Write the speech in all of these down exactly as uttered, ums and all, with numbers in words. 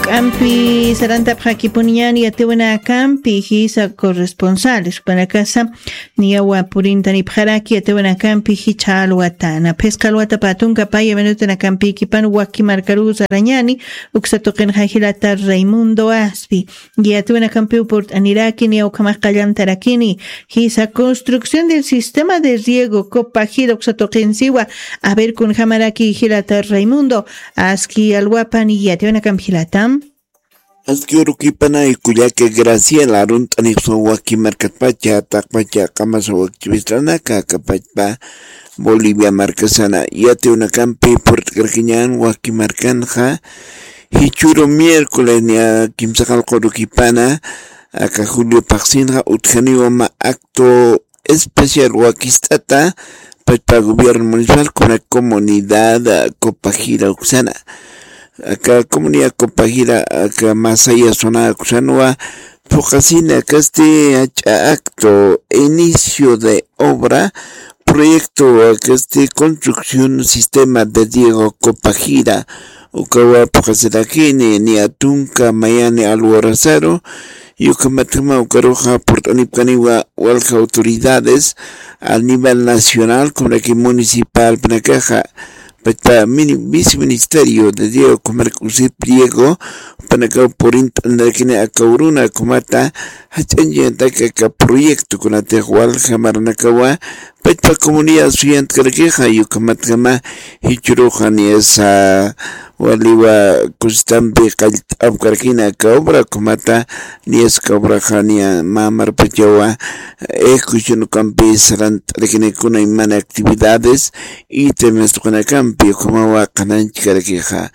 K'ampi sarantapxakipuniñani yatiwanakampi jisa corresponsales panakasa niyawa purintanipxaraki yatiwanakampi jicha alwatana phisqa alwata patunka paya minutanakampiykipan waki markarusa rañani. Uksa tuqinxa jilata raimundo aspi yatiwanakampiw purt'aniraki niyaw ukhamax qallantarakini. Jisa construcción del sistema de riego copajira uksa tuqinsiwa. A ver kunjamaraki jilata raimundo aski alwapan yatiwanakampi jilatam. Aski urukipanay kullaka graciela arunt'anixswa waki markatpacha taqpacha qamasa wakchiwisranaka akapachpa bolivia markasana yatiwanakampi purt'karkiñan waki markanxa. Jichuru miércoles niya kimsaqalqa urukipana aka julio paqsinxa utjaniwa mä acto especial wakist'ata pachpa gobierno municipal kuna comunidad copajira uksana. Aka comunidad copajira aka masaya zona uksanwa phuqasina kasti ach'a acto inicio de obra proyecto kasti construcción sistema de diego copajira ukawa phuqasirakini ni atunka mayani alwarasaru. Yukhamatjama ukaruxa purt'anipkaniwa walja autoridades a nivel nacional kunraki municipal panakaxa pachpa viceministerio de diego kumark usip diego panakaw purint'anrakini akawruna kumata jach'añchantaka aka proyecto kunatix walja maranakawa pachpa comunidad suyantkarakixay ukhamatjama jichuruxa niyasa waliwa kusitampi qallt'apkarakina aka obra ukhamata niyasa aka obraxa niya mamarpachawa ejecución ukampi sarant'arakinikuna imana actividades y temas tuqinakampi ukhamawa qhananchkarakixa.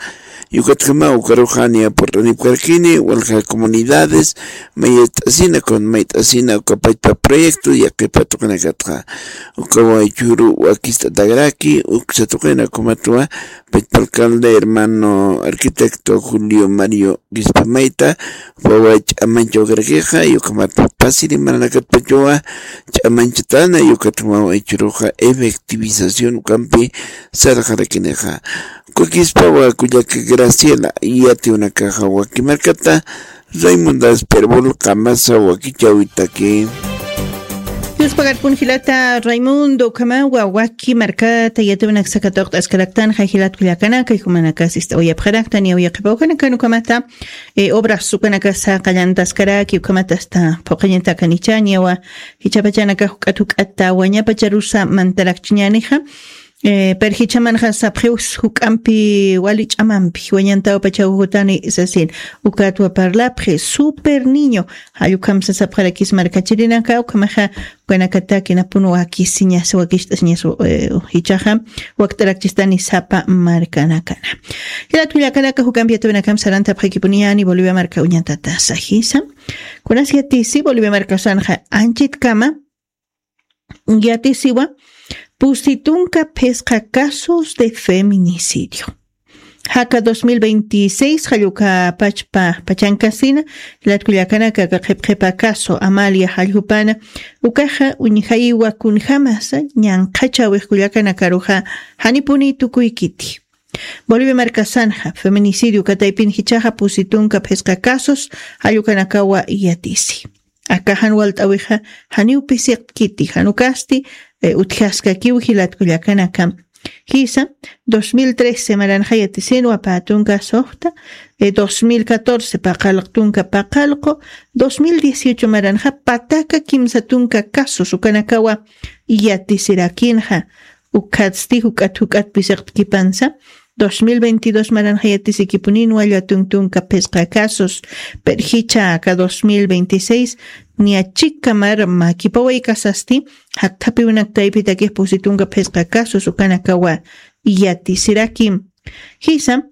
Yukatjama ukaruxa niya purt'anipkarakini walja comunidades mayt'asina kun mayt'asina uka pachpa proyecto yaqhipa tuqinakatxa ukawa churu wakist'atakaraki uksa tuqina kumatwa pachpa alcalde hermano arquitecto julio mario gispamayta wawa ch'amanchawkarakixa yukhamat pasiri maranakatpachawa ch'amanchatana yukatjamawa ichuruxa efectivización ukampi sarxarakinixa. Kukispawa kullaka graciela yatiwnakaxa waki markata raimundas perbol qamasa wakichawitaki. Yuspagarpun jilata raimundo ukhamawa waki markata yatiwanaksakatawqt'askaraktanxa jilat kullakanaka jumanakasist'awayapxaraktan yawiyaqipawkanakan ukhamata obras ukanakasa qallantaskaraki ukhamatasta phuqañatakanicha niyawa jichapachanaka juk'at juk'atta wañapacharusa mantarakchiñanixa. Pero jichamanxa sapxiw juk'ampi wali ch'amampi wañantawapachaw jutani sasin ukatwa parlapxi super niño. Jallukhamsa sapxarakis markachirinaka ukhamaxa ukanakataki napun wakisiñas wakicht'asiñas jichaxa wakt'arakchistani sapa markanakana. Jilat kullakanaka juk'ampi yatiwinakam sarantapxakipuniyani bolivia marka uñatatasa jisa. Kunas yatisi bolivia markasanxa anchitkama yatisiwa pusi tunka phisqa casos de feminicidio. Jaka dos mil veintiséis jallukapachpa pachankasina jilat kullakanaka qhipqhipa caso amalia jallupana ukaxa uñjayiwa kunjamasa ñanqhachawix kullakanakaruxa janipuni tukuykiti. Bolivia markasanxa feminicidio kataypin jichaxa pusi tunka phisqa casos jallukanakawa yatisi. Akaxan walt'awixa janiw pisiqkiti janukasti utjaskakiw jilatkullakanakam. Jisa dos mil trece maranxa yatisinwa pä tunka soxta dos mil catorce paqalq tunka paqalqu dos mil dieciocho maranxa pataka kimsa tunka casos ukanakawa yatisirakinxa. Ukhatsti juk'at juk'at pisiqtkipansa dos mil veintidós maranxa yatisikipunin walla tuntunka phisqa casos. Pero jicha aka dos mil veintiséis niya chika mar makipawaykasasti jakthapiwinaktaypitakix pusi tunka phisqa casos ukanakawa yatisirakim. Jisa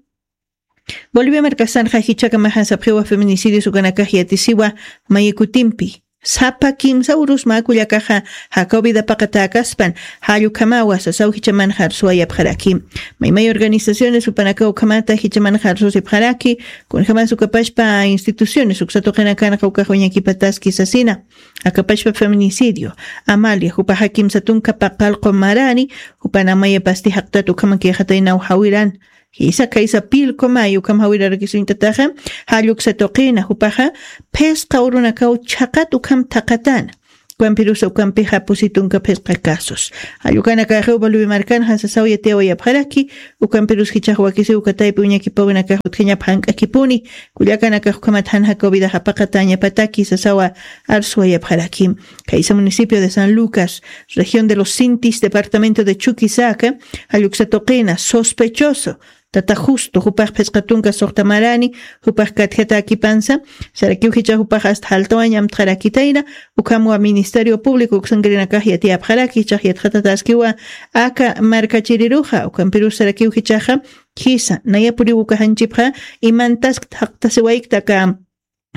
bolivia markasanxa jichakamaxa sapxiwa feminicidios ukanakax yatisiwa mayikutimpi sapa kimsa urus mä kullakaxa jakaw vidapaqatäkaspan jallukhamawa sasaw jichamanxa arsuwayapxaraki. Maymay organizaciones jupanakaw ukhamata jichamanxa arsusipxaraki kunjamas ukapachpa instituciones uksa tuqinakanxa ukax uñakipataski sasina. Akapachpa feminicidio amalia jupaxa kimsa tunka paqalqu marani jupan amayapasti jaqtat ukhamakixataynaw jawiran. Jisa kaysa pilku mayu ukham jawirarakisuñtataxa, jalluksa tuqina jupaxa phisqa urunakaw chhaqat ukham thaqatana. Ukampirusa ukampixa pusitunka phisqa casos. Jallukanakaxiw Bolivia markanxa sasaw yatiyawayapxaraki, ukampirus jichhax wakisiw ukataypi uñakipawinakax utjañap jank'akipuni, kullakanakax ukhamat jan jacovidax apaqatañapataki sasawa arsuwayapxaraki. Kaysa municipio de San Lucas, región de los Sintis, departamento de Chuquisaca, jalluksa tuqina sospechoso tata Justo, jupax phisqa tunka suxta marani, jupax katjatakipansa, sarakiw jichha jupax hasta jaltawañ amtxarakitayna, ukhamwa Ministerio Público uksankirinakax yatiyapxaraki, jichhax yatxatataskiwa aka markachiriruxa, ukampirus sarakiw jichhaxa, jisa, nayapuriw uka janchipxa, imantask thaqtasiwaykta aka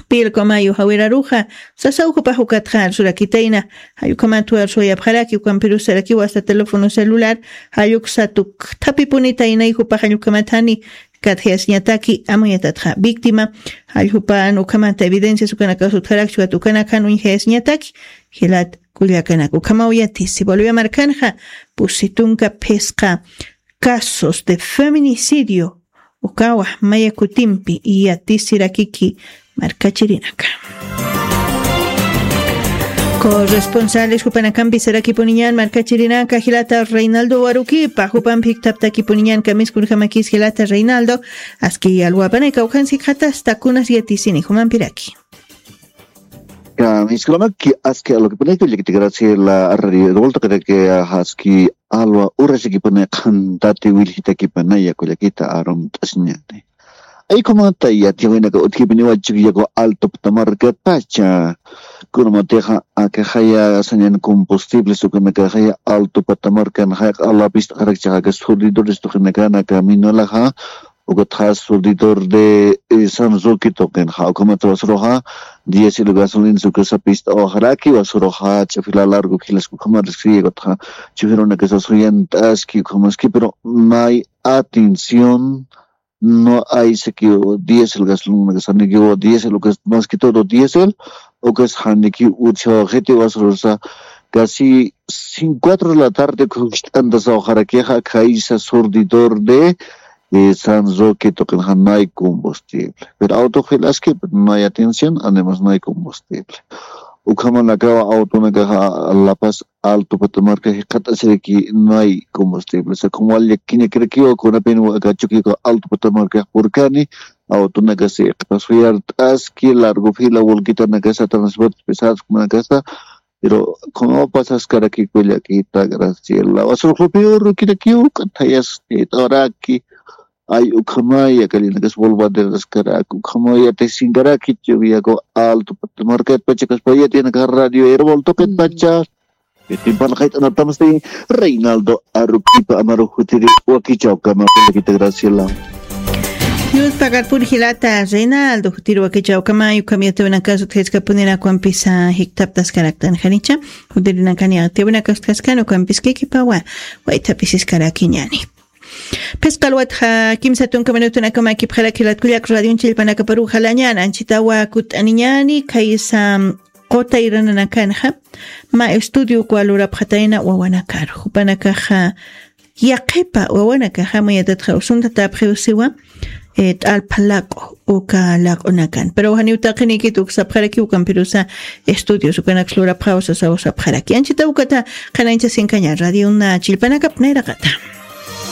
pilku mayu jawiraruxa, sasaw jupax ukatxa arsurakitayna, jallukhamat arsuwayapxaraki, ukampirus sarakiw hasta teléfono celular, jalluksa tukthapipunitayna jupax jallukhamat jani katjayasiñataki, amuyatatxa víctima, jalljupan ukhamata evidencias ukanakax utjarakchi, ukat ukanakan uñjayasiñataki, jilat kullakanaka. Ukhamaw yatisi, Bolivia markanxa, pusitunka phisqa casos de feminicidio, ukawa maya kutimpi yatisirakiki markachirinaka. Corresponsales jupanakampi sarakipuniñan markachirinaka jilata Reinaldo Warukipa, jupanpi jiktaptakipuniñan kamisku urjamakis jilata Reinaldo, aski alwapanay kawkhansi khatasta kunas yatisini jumampiraki. Kamiskulamaki aski alwakipanayku llakita Graciela radio de vuelta kata que aski alwa urasakipuni qhantati wilhitakipanaya kullakita arumt'asiñani. Aykumata yatiyawinaka utjipiniwa Chukiyaku Alto Patamarca pacha. Kunamatixa akaxaya sañan combustibles ukanakaxaya Alto Patamarca naxaya q'alapista qarakchaxaka surdidores tuqinakana caminolaxa, ukatxa surdidor de eh, San Roque tuqinxa, ukamata wasuruxa diésel gasolina ukasa pista oxaraki wasuruxa ch'afila largo kilas ukamariski, ukatxa chufirunakasa suyant'aski ukamaski, pero no hay atención, no hay sequio diésel gasolina que saniqueo diésel lo que es más que todo diésel o que es haniki ucho gente va a ser casi cinco cuatro de la tarde con esta anda sa ojalá que ja caisa surdidor de eh, San Roque toquen hanay combustible, pero auto filas que no hay atención, además no hay combustible. Ukhamanakawa autonakaxa La Paz Alto Patamarca jikxatasiriki no hay combustible. Sa como wal llakiñakirakiwa kunapin wakachukiku Alto Patamarca purkani, autonakasi qhasuyart'aski largo fila, volquitanakasa, transporte pesados kunanakasa, pero como pasaskaraki kullakita Graciela, wasur jupiurukirakiw k'athayas t'oraki, ay ukhamaya kallinakas volvaderaskarak ukhamaya tesinkarak ichubiyaku Alto Patamarca pachakas payatiyanaka radio herbol toqet pacha. Timpana qayt'anatamasti Reinaldo Aruquipa Amaru jutiri wakichawkama pulakita Graciela. Yus pagar purjilata Reinaldo jutiri wakichawkama yukamiyatawinakas utjaskapunirakumpisa jiktaptaskaraktan janicha, jutirinakani atiyawinakas utjaskani ukampiskikipawa waytapisiskarakiñani. Phisqa alwatxa kimsa tunka minutunakama kipxarakilata kullak radion chillpanakaparu jalañan anchitawa kut'aniñani khaysa qutayrananakanxa mä estudio ukwa lurapxatayna wawanakar jupanakaxa yaqhipa wawanakaxa mayatatxa usuntatapxiw siwa t'alpha laq'u uka laq'unakan pero janiw taqinikit uksapxaraki ukampirusa estudios ukanaks lurapxaw sasaw sapxaraki anchita ukata qhanañchasinkaña radiona chillpanakap nayraqata.